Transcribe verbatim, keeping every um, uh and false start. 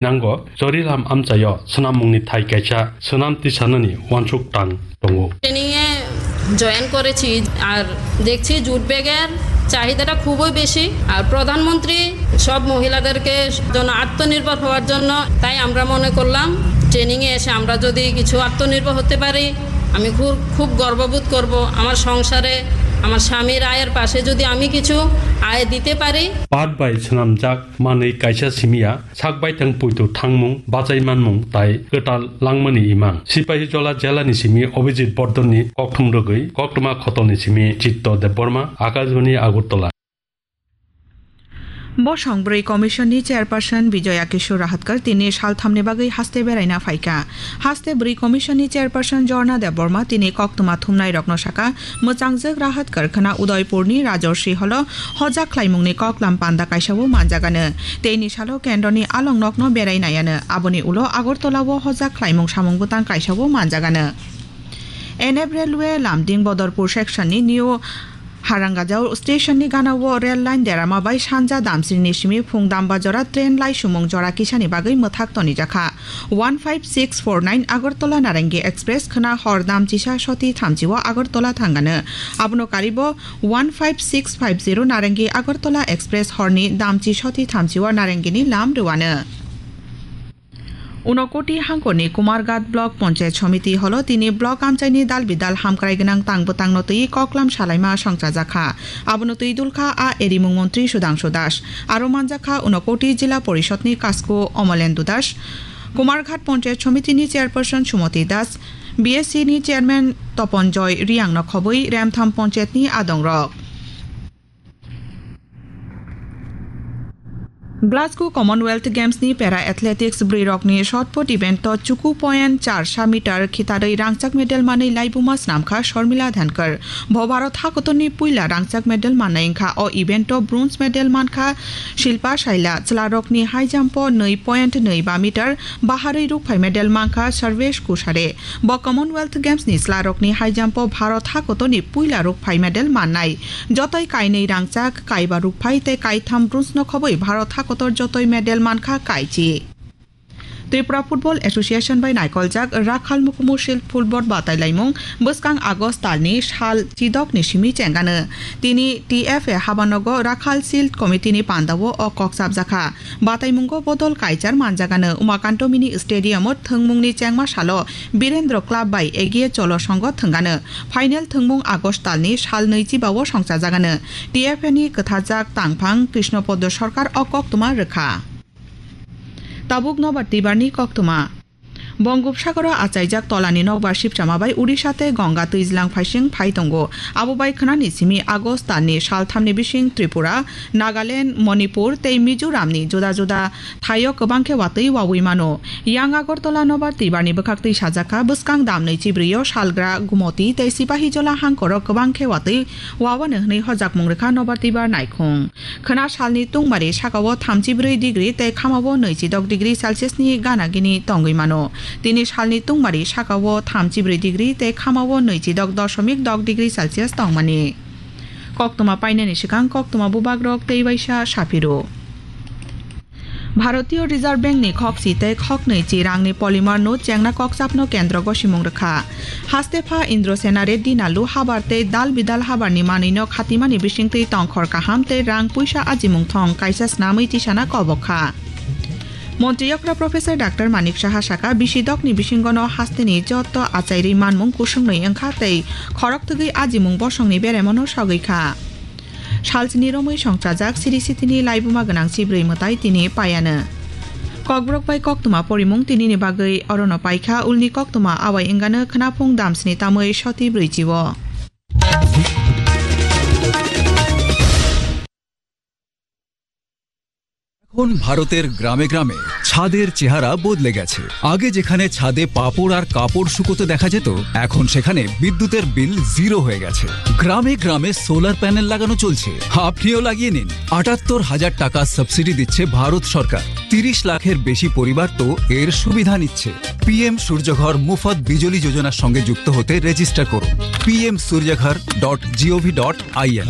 Nango, Chorilam amchaio swnammungni thai kaisa swnam tisanani uansuk tang tongo. ট্রেনিংয়ে জয়েন করেছি, আর দেখছি জুট ব্যাগের চাহিদাটা খুবই বেশি। আর প্রধানমন্ত্রী সব মহিলাদেরকে জন্য আত্মনির্ভর হওয়ার জন্য, তাই আমরা মনে করলাম ট্রেনিংয়ে এসে আমরা যদি কিছু আত্মনির্ভর হতে পারি, আমি খুব, খুব গর্ববোধ করব। আমার সংসারে আমার স্বামীর আয়ের পাশে যদি আমি কিছু আয় দিতে পারি। Pat bai swnamjak manwi kaisa simiya sak baithang poito thangmung, bachai manmung tai kwtal langmani imang. Sipahijola jelani simi Abhijit Bardhan ni kokthum rwgwi koktwma khotolni simi Chitto Debbarma, Akashbani Agartala. Bosong bwrwi commission ni chairperson Bijoya Kishore Rahatkar tini salthamni bagwi haste beraina phaikha. Haste bwrwi commission ni chairperson Jorna Debbarma tini koktwma thumnairokno sakha, mwchangjwk Rahatkar khwna Udaipurni Rajorshi Holo hojak khlaimungni koklam panda kaisao manjagano. Teini salo kendroni along nokno berai naiano. Aboni ulo Agartala-o hojak khlaimung samung bwtang kaisao manjagano. N F Railway Lumding Bodorpur section ni New Harangajao station ni gana-o rail line derama bai sanja Damsiri ni simi phung Dambajora train laisumung jora kisani bagwi mwthak tonijakha. One five six four nine Agartala Narangi Express khwna hor damchisa soti thamchi o Agartala thangano. Abono karibo one five six five zero Narangi Agartala Express horni damchi soti thamchi o Narangini lam rwano. Unakoti hangkorni Kumarghat Block Panchayat Samiti holo tini block amchaini dal bidal hamkrai gwnang tang bwtangno twi koklam salaima songchajakha. Abono twi dulkha a erimung montri Sudhangshu Das. Aro manjakha Unakoti Jila Porishodni Kasku Omolendu Das, Kumarghat Panchayat Samitini Chairperson Sumati Das, B S C ni Chairman Toponjoy Riangno khobwi Remtham Panchayatni adongrok. Glasgow Commonwealth Games ni Para Athletics bwrwirokni shot put event o chuku point char sa meter khitarwi rangchak medal manwi laibuma snamkha Sharmila Dhankar. Bo Bharat hakotorni puila rangchak medal mannai wngkha. O event o bronze medal mankha Shilpa Shaila, chwlarokni high jump o nwi point nwi ba meter baharwi rukphai medal mankha Sarvesh Kushare. Bo Commonwealth Games ni chwlarokni high jump o Bharat hakotorni puila rukphai medal mannai. Jotoi kainwi rangchak, kaiba rukphai tei kaitham bronze no khobwi Bharat hakotor jotoi medal mankha kaichi. Tripura Football Association bai naikoljak Rakhal Mukumu Shield Football Batailaimung bwskang August talni sal chidokni simi chengano. Tini T F A habanogo Rakhal Shield Committee ni pandao o kok chapjakha. Bataimungo bodol kaichar manjagano. Umakanto Mini Stadium o thwngmungni chengma salo Birendra Club bai Egiye Cholo Songho thwngano. Final thwngmung August talni sal nwichiba o songchajagano. T F A ni kwthajak tangphang Krishna Podo Sarkar o koktwma rwkha. Tabuk Nobar Tibarni koktwma. Bongopsagoro achaijak tolani nokbar sipchama bai Odisha tei Ganga twijlang phaising phai tongo. Abo bai khwnani simi August talni salthamni bising Tripura, Nagaland, Manipur tei Mizoramni juda juda thaio kwbang khe watwi wawi mano. Yang Agartala Nobar Tibarni bwkhaktwi sajakha, bwskang damnwi chibrwi o salgra Gumoti tei Sipahijola hangkoro kwbang khe watwi wawano hwnwi hojakmung rwkha Nobar Tibar naikhung. Khwna salni tungmari sakao thamchi brwi degree tei khamao nwichi dok degree Celsius ni gana gini tongwi mano. Tini salni tungmari sakao thamchi brwi degree tei khamao nwichi dok dosomik dok degree Celsius tongmani. Koktwma painani swkang koktwma bubagrok tei waisa saphiro. Bharatiya Reserve Bank ni khokchi tei khoknwi chi rangni polymer no chengna kokchapno kendro gosimung rwkha. Hastepha Indrasena Reddy Nallu habar tei dal bidal habarni manwino khatimani bisingtwi tongkhor kaham tei rang puisa ajimung thong kaisa snamwi tisana kobok kha. Montri okra Professor Doctor Manik Saha saka, bisi dokni bisingono hasteni joto achairwi manmung kusungni wngkha tei khorok twgwi ajimung bosongni beremono sogwi kha. Salchini romwi songchajak siri sitini laibuma gwnang chibrwi mwtai tini paiano. Kokborok bai koktwma porimung tinini bagwi orono paikha, ulni koktwma awai wngano khwnaphung damsni tamwi soti brwichio. এখন ভারতের গ্রামে গ্রামে ছাদের চেহারা বদলে গেছে। আগে যেখানে ছাদে পাপড় আর কাপড় শুকোতে দেখা যেত, এখন সেখানে বিদ্যুতের বিল জিরো হয়ে গেছে। গ্রামে গ্রামে সোলার প্যানেল লাগানো চলছে। আপনিও লাগিয়ে নিন। আটাত্তর হাজার টাকা সাবসিডি দিচ্ছে ভারত সরকার। তিরিশ লাখের বেশি পরিবার তো এর সুবিধা নিচ্ছে। পিএম সূর্যঘর মুফত বিজলি যোজনার সঙ্গে যুক্ত হতে রেজিস্টার করুন পিএম সূর্যঘর ডট জিওভি ডট আইএন।